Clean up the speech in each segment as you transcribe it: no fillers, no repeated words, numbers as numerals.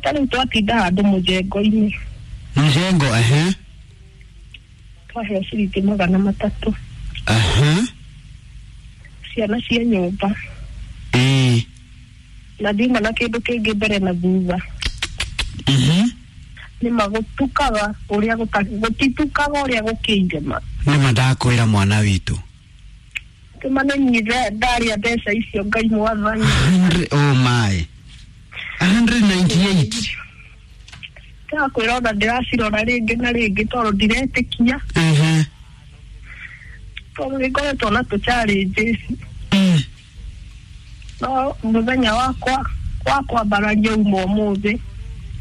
Ta rĩu twatinda handũ mũjengo-inĩ. Mjengo, ehe. Twaheo ciringi 300. Ehe. Ciana cia nyũmba. Ĩĩ. Na ndiuma na kĩndũ kĩngĩ mbere na thutha. Mhm. Nĩma gũtukaga ũrĩa gũtitukaga ũrĩa gũkĩire ma. Nĩma ndakwĩra mwana witũ. Kĩmane ndarĩa mbeca icio Ngai mwathani. Oh my. 198. Ndakwĩra ona ndĩracirora rĩngĩ na rĩngĩ tondũ ndiretĩkia. Ehe. Tondũ nĩngoretwo na tũ challenges. No mũthenya wakwa wa kwambararia uma ũmũthĩ.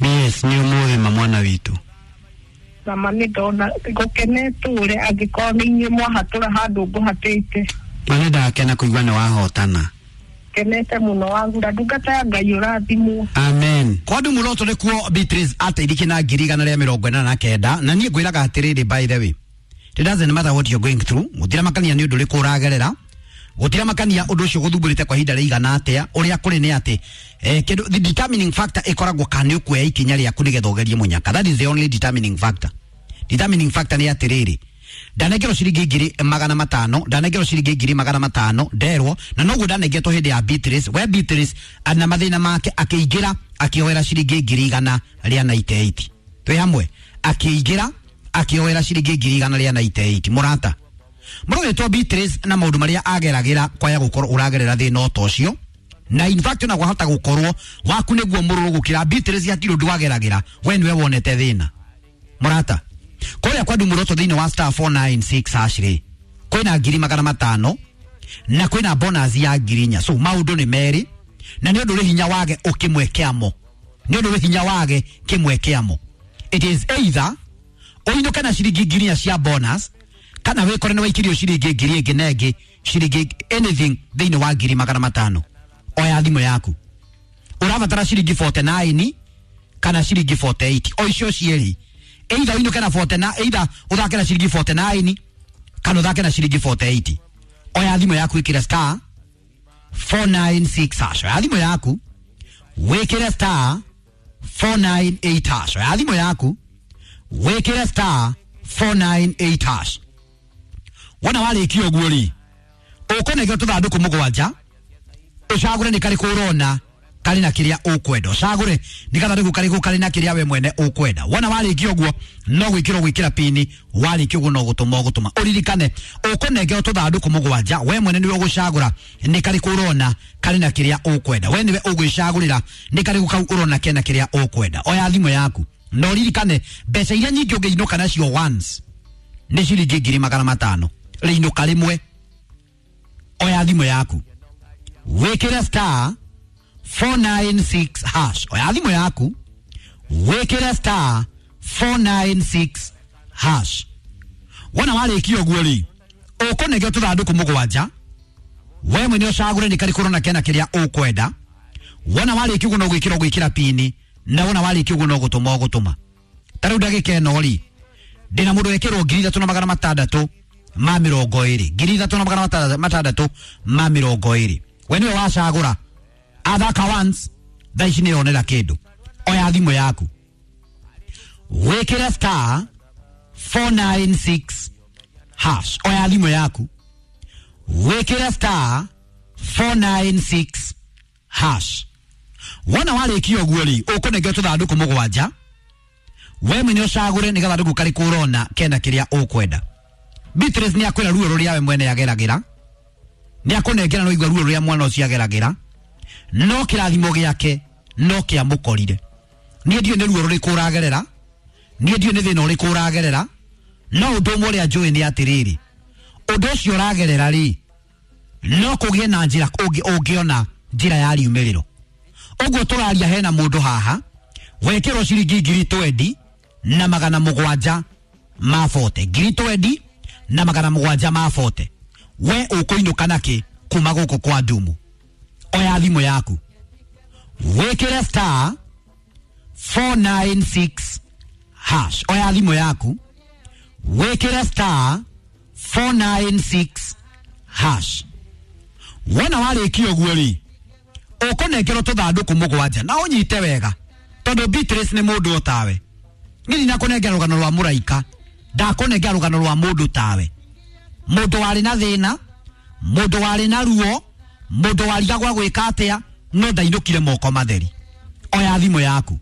Yes, nĩ ũmũthĩ ma mwana witũ. Nama nĩ ndona gũkenetũre angĩkorwo nĩ inyuĩ mwahatũra handũ ngũhatĩte. Ma nĩ ndakena kũigua nĩ wahotana. Kenete mũno wagura ndungata ya Ngai ũrathimwo. Amen. Kwa ndu muroto nĩkuo Beatrice ateithĩkire na 189 na niĩ ngwĩraga atĩrĩrĩ, by the way, it doesn't matter what you're going through, gũtiramakania nĩ ũndũ ũrĩkũ ũragerera, gũtiramakania ũndũ ũcio gũthumbũrĩte kwa ihinda rĩigana atĩa, ũrĩa kũrĩ nĩ atĩ kĩndũ the determining factor ĩkoragwo kana nĩ ũkuoya ikinya rĩaku nĩgetha ũgerie mũnyaka. That is the only determining factor. Determining factor nĩ atĩrĩrĩ, ndanengerwo ciringi 500,000, ndanengerwo ciringi 500,000 nderwo, na noguo ndanengetwo hĩndĩ ya Beatrice. We Beatrice na mathĩna make akĩingĩra akĩoera ciringi 198. Twĩ hamwe, akĩingĩra akĩoera ciringi 198. Mũrata mũrũgĩtwo Beatrice na maũndũ marĩa ageragĩra kwaya gũkorwo ũragerera thĩna o ta ũcio, na in fact ona kwahota gũkorwo waku nĩguo mũrũrũ gũkĩra Beatrice, hatirĩ ũndũ wageragĩra, we nĩwe wonete thĩna. Mũrata, kũrĩa kwa Ndumuroto thĩinĩ wa star 496 hash rĩ, kwĩna 500,000 na kwĩna bonus ya 4,000. So maũndũ nĩ merĩ, na nĩ ũndũ ũrĩ hinya wage ũkĩmwe kĩamo, nĩ ũndũ ũrĩ hinya wage kĩmwe kĩamo. It is either ũinũke na ciringi 4,000 cia bonus, kana wĩkore nĩ waikirio ciringi 1,000 ĩngĩ na ĩngĩ, ciringi anything thĩinĩ wa 500,000. Oya thimũ yaku, ũrabatara ciringi 49 kana ciringi 48, o icio cierĩ. Either ũinũke na 49, either ũthake na ciringi 49 kana ũthake na ciringi 48. Oya thimũ yaku ĩkĩre star 496 hash. Oya thimũ yaku wĩkĩre star 498 hash. Oya thimũ yaku wĩkĩre star 498 hash. Wona warĩkia ũguo rĩ, ũkũnengera tũthandũkũ mũgwanja, ũcagũre nĩ karĩkũ ũrona karĩ na kĩrĩa ũkwenda, ũcagũre nĩ gathandũkũ karĩkũ karĩ na kĩrĩa we mwene ũkwenda. Wona warĩkia ũguo no gwĩkĩrwo gwĩkĩra pini, warĩkia ũguo no gũtũma ũgũtũma. Ũririkane ũkũnengerwo tũthandũkũ mũgwanja, we mwene nĩwe ũgũcagũra nĩ karĩkũ ũrona karĩ na kĩrĩa ũkwenda, we nĩwe ũgwĩcagũrĩra nĩ karĩkũ kau ũrona kena kĩrĩa ũkwenda. Oya thimũ yaku na ũririkane mbeca iria nyingĩ ũngĩinũka nacio once nĩ ciringi 500,000, rĩinũka rĩmwe. Oya thimũ yaku wĩkĩre star 496 hash. Oya thimũ yaku wĩkĩre star 496 hash. Wona warĩkia ũguo rĩ, ũkũnengera tũthandũkũ mũgwanja, we mwene ũcagũre nĩ karĩkũ ũrona kena kĩrĩa ũkwenda. Wona warĩkia ũguo no gwĩkĩra ũgwĩkĩra pini, na wona warĩkia ũguo no gũtũma ũgũtũma. Ta rĩu ndagĩka ĩno rĩ, ndĩna mũndũ wekĩrwo 3,620, 3,620. We nĩwe wacagũra, athaka once, thaa ici nĩyonera kĩndũ. Oya thimũ yaku wĩkĩre star 496 hash. Oya thimũ yaku wĩkĩre star 496 hash. Wona warĩkia ũguo rĩ, ũkũnengera tũthandũkũ mũgwanja, we mwene ũcagũre nĩ gathandũkũ karĩkũ ũrona kena kĩrĩa ũkwenda. Beatrice nĩ akwĩra ruo rũrĩa we mwene ageragĩra, nĩ akũnengera no igua ruo rũrĩa mwana ũcio ageragĩra, no kĩrathimo gĩake no kĩamũkorire. Niĩ ndiũĩ nĩ ruo rũrĩkũ ũragerera, niĩ ndiũĩ nĩ thĩna ũrĩkũ ũragerera, no ũndũ ũmwe ũrĩa njũĩ nĩ atĩrĩrĩ, ũndũ ũcio ũragerera rĩ, no kũgĩe na njĩra ũngĩona njĩra ya riumĩrĩro. Ũguo tũraria hena mũndũ haha wekĩrwo ciringi 20,740, 20,740. We ũkũinũka nakĩ kuma gũkũ kwa Ndumu? Oya thimũ yaku wĩkĩre star 496 hash. Oya thimũ yaku wĩkĩre star 496 hash. Wona warĩkia ũguo rĩ, ũkũnengerwo tũthandũkũ mũgwanja, na ũnyite wega. Tondu Beatrice ni mundu otawe. Ni ndinakunengera rugano rwa muraika, ndakunengera rugano rwa mundu tawe. Mundu wari na thina, mundu wari na ruo, mundu warigagwa gwika atia, no ndainukire moko matheri. Oya thimu yaku,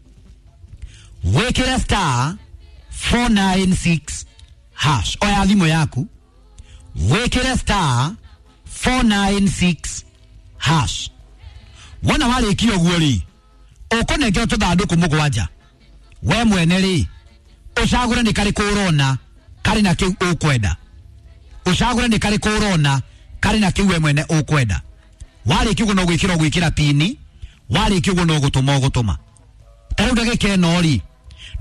wikire star 496 hash. Oya thimu yaku, wikire star 496 hash. Wona warikia uguo ri, ukunengera tuthanduku mugwanja. We mwene ri, ucagure ni kariku urona kari na kiu ukwenda. Ucagure ni kariku urona kari na kiu we mwene ukwenda. Warikia uguo no gwikira gwikira pini, warikia uguo no gutuma ugutuma. Ta riu ndagika ĩno ri,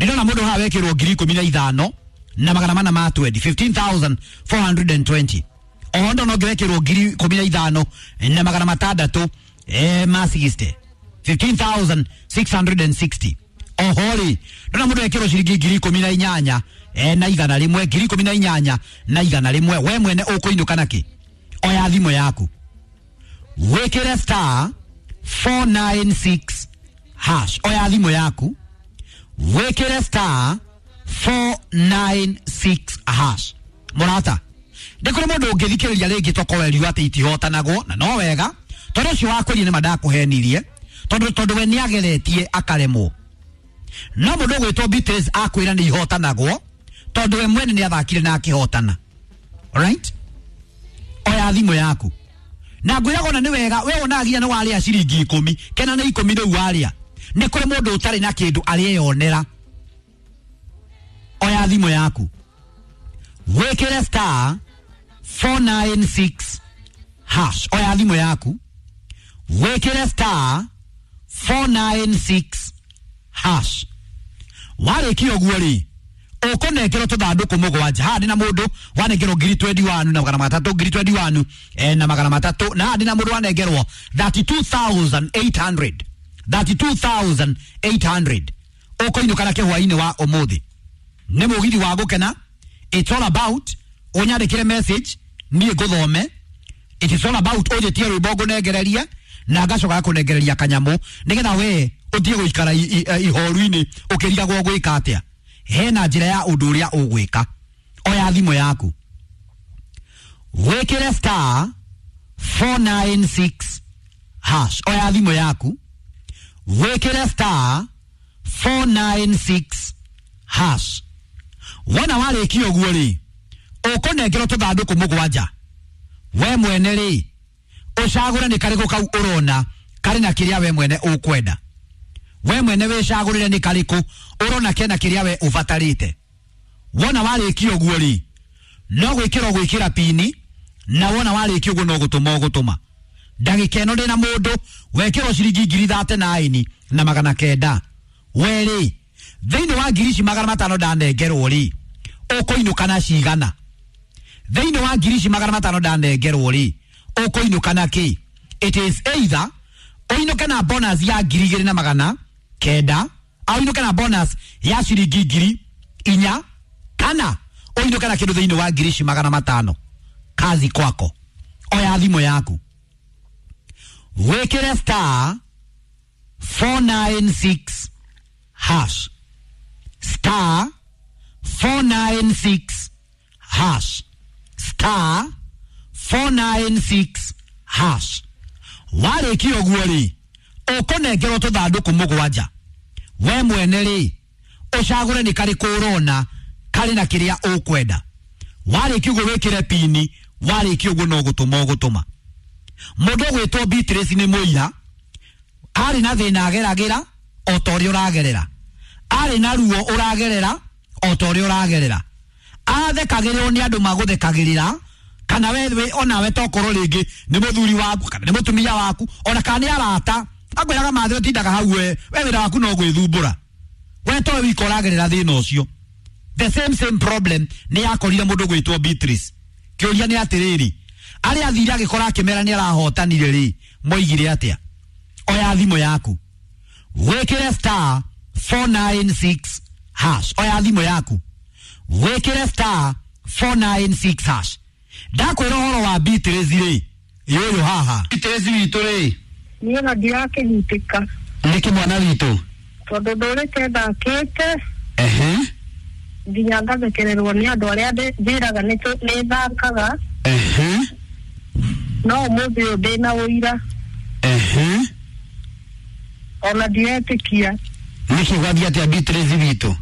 ndĩrona mũndũ haha wekĩrwo 15,420, 15,420. Oho ndona ũngĩ wekĩrwo 15,600 ma 60, 15,660. Oho rĩ, ndona mũndũ wekĩrwo ciringi 18,100, 18,100. We mwene ũkũinũka nakĩ? Oya thimũ yaku, wĩkĩre star 496 hash. Oya thimũ yaku, wĩkĩre star 496 hash. Mũrata, ndĩ kũrĩ mũndũ ũngĩthikĩrĩria rĩngĩ tokowerio atĩ itihotanagwo, na no wega tondũ ũcio wakwĩrie nĩ mandakũhenirie, tondũ we nĩageretie akaremwo. No mũndũ ũgwĩtwo Beatrice akwĩra nĩ ihotanagwo tondũ we mwene nĩathakire na akĩhotana. Alright? Oya thimũ yaku, na ngwĩraga ona nĩ wega we wonaga nginya nĩ warĩa ciringi 10 kena nĩ 10 rĩu warĩa. Nĩ kũrĩ mũndũ ũtarĩ na kĩndũ arĩeyonera. Oya thimũ yaku, wĩkĩre star 496 hash. Oya thimũ yaku, wĩkĩre star 496 hash. Warĩkia ũguo rĩ, ũkũnengerwo tũthandũkũ mũgwanja. Haha ndĩna mũndũ wanengerwo 21,300, 21,300, na haha ndĩna mũndũ wanengerwo 32,800, 32,800. Ũkũinũka na kĩhwainĩ wa ũmũthĩ. Nĩ mũgithi wa gũkena. It's all about ũnyandĩkĩre message niĩ ngũthome. It is all about ũnjĩtie rwĩmbo ngũnengererie na ngacoka ngakũnengereria kanyamũ nĩgetha we ũthiĩ gũikara ihoru-inĩ ũkĩrigagwo gwĩka atĩa. Hena njĩra ya ũndũ ũrĩa ũgwĩka. Oya thimũ yaku, wĩkĩre star 496 hash. Oya thimũ yaku, wĩkĩre star 496 hash. Wona warĩkia ũguo rĩ, ũkũnengerwo tũthandũkũ mũgwanja. We mwene rĩ, ũcagũre nĩ karĩkũ kau ũrona karĩ na kĩrĩa we mwene ũkwenda. We mwene wĩcagũrĩre nĩ karĩkũ ũrona kena kĩrĩa we ũbatarĩte. Wona warĩkia ũguo rĩ, no gwĩkĩra gwĩkĩra pini, na wona warĩkia ũguo no gũtũma ũgũtũma. Ndagĩka ĩno ndĩna mũndũ wekĩrwo ciringi 39,900. We rĩ, thĩinĩ wa 500,000 ndanengerwo rĩ, ũkũinũka na cigana? Thĩinĩ wa 500,000 ndanengerwo rĩ, ũkũinũka na kĩ? It is either ũinũke na bonus ya 2,900, au ũinũke na bonus ya ciringi 4,000, kana ũinũke na kĩndũ thĩinĩ wa 500,000. Kazi kwako. Oya thimũ yaku, wĩkĩre star 496 hash, star 496 hash, star 496 hash. Warĩkia ũguo rĩ, ũkũnengerwo tũthandũkũ mũgwanja. We mwene rĩ, ũcagũre nĩ karĩkũ ũrona karĩ na kĩrĩa ũkwenda. Warĩkia ũguo wĩkĩre pini, warĩkia ũguo no gũtũma ũgũtũma. Mũndũ ũgwĩtwo Beatrice nĩ mũira, arĩ na thĩna ageragĩra o ta ũrĩa ũragerera, arĩ na ruo ũragerera o ta ũrĩa ũragerera, athekagĩrĩrwo nĩ andũ magũthekagĩrĩra, kana we onawe tokorwo rĩngĩ nĩ mũthuri waku kana nĩ mũtumia waku, ona kana nĩ arata akwĩraga mathĩ ũtindaga hau we wĩra waku no gwĩthumbũra, we towe wika ũragerera thĩna ũcio. The same problem nĩ yakorire mũndũ gwĩtwo Beatrice. Kĩũria nĩ atĩrĩrĩ, arĩa athire agĩkora akĩmera nĩ arahotanire rĩ, moigire atĩa? Oya thimũ yaku, wĩkĩre star 496 hash. Oya thimũ yaku, wĩkĩre star 496 hash. Ndakwĩra ũhoro wa Beatrice rĩ, yũyũ haha. Beatrice witũ rĩ, Niĩ ona ndirakĩnyitĩka. Nĩkĩ mwana witũ? Tondũ ndũrĩte thakĩte. Ehe. Nginya ngathekererwo nĩ andũ arĩa njĩraga nĩ thakaga. Ehe. No ũmũthĩ ũyũ ndĩna ũira. Ehe. Ona ndiretĩkia. Nĩkĩ gwathiĩ atĩa Beatrice witũ?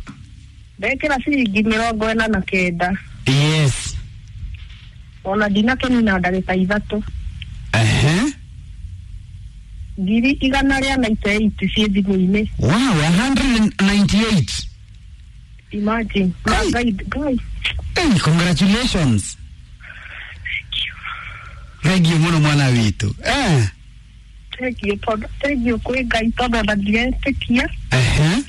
Ndekĩra ciringi 49. Yes. Ona ndinakĩnina ndagĩka 3. Ehe. 198 ciĩ thimũ-inĩ. Wow, 198. Imagine. Kai. Ngai. Hey, congratulations. Thank you mũno mwana witũ. Eh. Thank you tondũ thank you kwĩ Ngai tondũ ona ndiretĩkia. Ehe.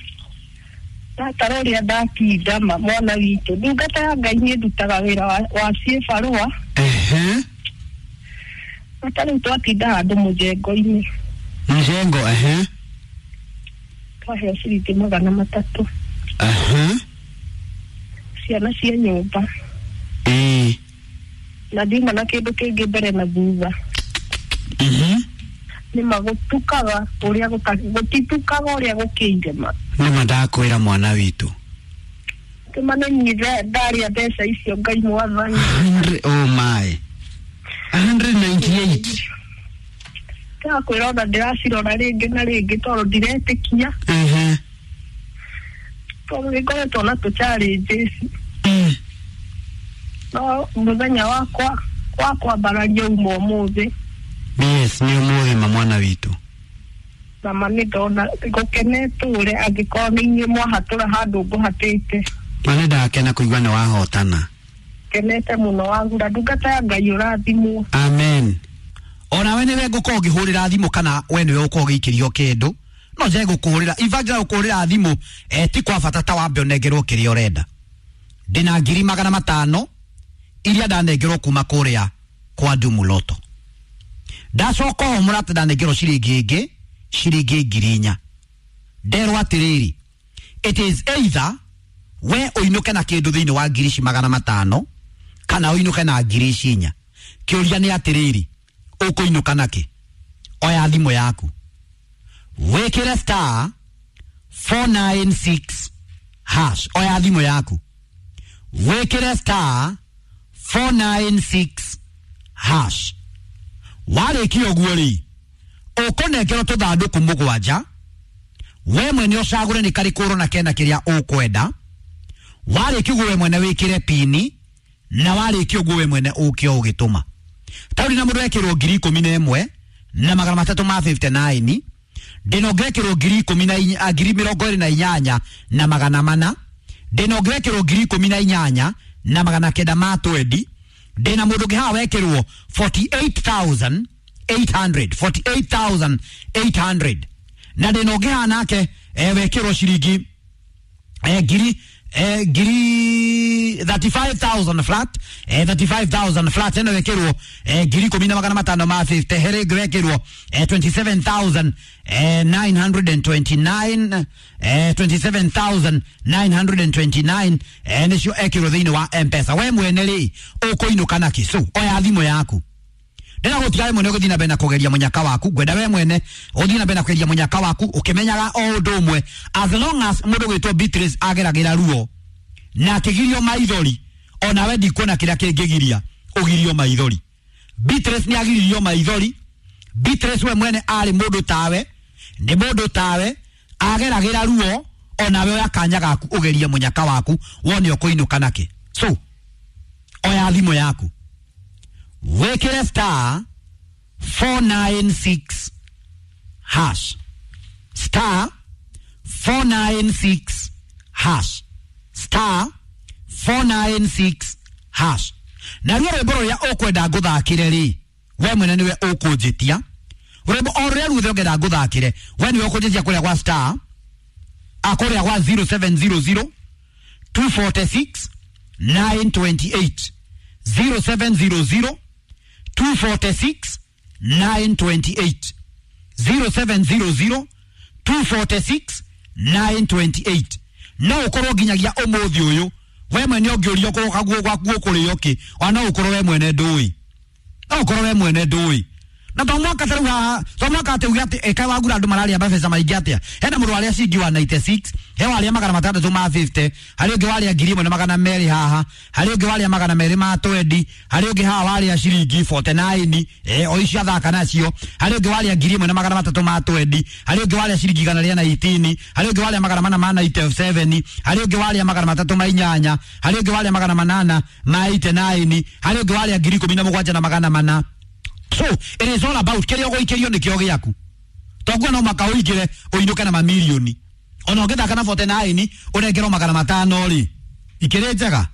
Ndatara ũrĩa ndatinda ma mwana witũ. Ndungata ya Ngai niĩ ndutaga wĩra wa ciĩbarũa. Ehe. Ata rĩu twatinda handũ mũjengo-inĩ. Mjengo, ehe. Twaheo ciringi 300. Ehe. Ciana cia nyũmba. Ĩĩ. Na ndiuma na kĩndũ kĩngĩ mbere na thutha. Mhm. Nĩma gũtukaga ũrĩa gũtitukaga ũrĩa gũkĩire ma. Nĩma ndakwĩra mwana witũ. Kĩmane ndarĩa mbeca icio Ngai mwathani. Oh my. 198. Ndakwĩra ona ndĩracirora rĩngĩ na rĩngĩ tondũ ndiretĩkia. Ehe. Tondũ nĩngoretwo na tũ challenges. Mm. No mũthenya wakwa wa kwambararia uma ũmũthĩ. Yes, nĩ ũmũthĩ ma mwana witũ. Na ma nĩ ndona gũkenete ũrĩa angĩkorwo nĩ inyuĩ mwahatũra handũ ngũhatĩte. Ma nĩ ndakena kũigua nĩ wahotana. Kenete mũno wagura ndungata ya Ngai ũrathimwo. Amen. Onawe nĩwe ngũkorwo ngĩhũrĩra thimũ kana we nĩwe ũkorwo ũgĩikĩrio kĩndũ no nje gũkũhũrĩra in fact gũkũhũrĩra thimũ ti kwa bata ta wambe ũnengerwo kĩrĩa ũrenda. Ndĩna 500,000 iria ndanengerwo kuma kũrĩa kwa Ndumuloto. Ndacoka o mũrata ndanengerwo ciringi ĩngĩ ciringi 4,000. Nderwo atĩrĩrĩ, it is either we ũinũke na kĩndũ thĩinĩ wa 500,000 kana ũinũke na 4,000. Kĩũria nĩ atĩrĩrĩ, ũkũinũka nakĩ? Oya thimũ yaku wĩkĩre star 496 hash. Oya thimũ yaku wĩkĩre star 496 hash. Warĩkia ũguo rĩ, ũkũnengerwo tũthandũkũ 7. We mwene ũcagũre nĩ karĩkũ ũrona kena kĩrĩa ũkwenda. Warĩkia ũguo we mwene wĩkĩre pini, na warĩkia ũguo we mwene ũke ũgĩtũma. Taũri na mũndũ ekĩrwo 11,359. Ndĩna ũngĩ wekĩrwo 28,400. Ndĩna ũngĩ wekĩrwo 18,920. Ndĩna mũndũ ũngĩ haha wekĩrwo 48,800. 48,800. Na ndĩna ũngĩ haha nake wekĩrwo ciringi ngiri 35,000 flat, 35,000 flat eno wekirwo 10,550. Here wekirwo 27,929, 27,929 nicio ekirwo thiini wa M-Pesa. We mwene ri ukuinuka naki? So oya thimu yaku. Ndĩra gũtiga we mwene ũgĩthiĩ na mbere na kũgeria mũnyaka waku. Ngwenda we mwene ũthiĩ na mbere na kũgeria mũnyaka waku ũkĩmenyaga o ũndũ ũmwe, as long as mũndũ gwĩtwo Beatrice ageragĩra ruo na akĩgirio maithori, onawe ndikuona kĩrĩa kĩngĩgiria ũgirio maithori. Beatrice nĩ agiririo maithori. Beatrice we mwene arĩ mũndũ tawe, nĩ mũndũ tawe ageragĩra ruo, onawe oya kanya gaku ũgerie mũnyaka waku wone ũkũinũka nakĩ. So oya thimũ yaku wĩkĩre star 496 hash, star 496 hash, star 496 hash. Na ruo rwĩmbo rũrĩa ũkwenda ngũthakĩre rĩ, we mwene nĩwe ũkũnjĩtia. Rwĩmbo o rũrĩa ruothe ũngĩenda ngũthakĩre, we nĩwe ũkũnjĩtia kũrĩa gwa star, kũrĩa gwa 0700 246 928. 0700 246 928. 0700 246 928. No ukorwo nginyagia umuthi uyu we mwene ũngĩũrio kaguo gwaku ũkũrĩo kĩ, ona no ũkorwo we mwene ndũĩ, no ũkorwo we mwene ndũĩ, Na to mwaka taru haha, to mwaka atĩ uge atĩ ĩka wagura andũ mararĩa mabeca maingĩ atĩa. Hena mũndũ warĩa ciringi 196, he warĩa 650, harĩ ũngĩ warĩa 1200 haha, harĩ ũngĩ warĩa 220, harĩ ũngĩ haha warĩa ciringi 49, o icio athaka nacio, harĩ ũngĩ warĩa 1320, harĩ ũngĩ warĩa ciringi 118, harĩ ũngĩ warĩa 497, harĩ ũngĩ warĩa 308, harĩ ũngĩ warĩa 889, harĩ ũngĩ warĩa 17,400. So it is all about kĩrĩa ũgũikĩrio nĩkĩo gĩaku. Toguo no maka ũingĩre ũinũke na mamirioni. Ona ũngĩthaka na 49 ũnengerwo 500 rĩ, ikĩrĩ njega.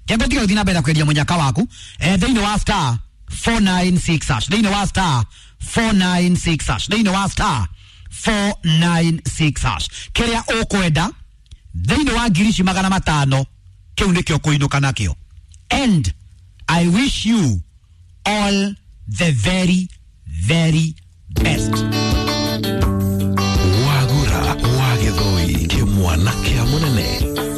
Kĩambe tiga gũthiĩ na mbere na kwendia mũnyaka waku thĩinĩ wa star 496 hash, thĩinĩ wa star 496 hash, thĩinĩ wa star 496 hash. Kĩrĩa ũkwenda thĩinĩ wa ngiri ici 500 kĩu nĩkĩo kũinũka nakĩo. And I wish you all the very, very best. Wagura wa Gĩthũi, kĩmwana kĩa mũnene.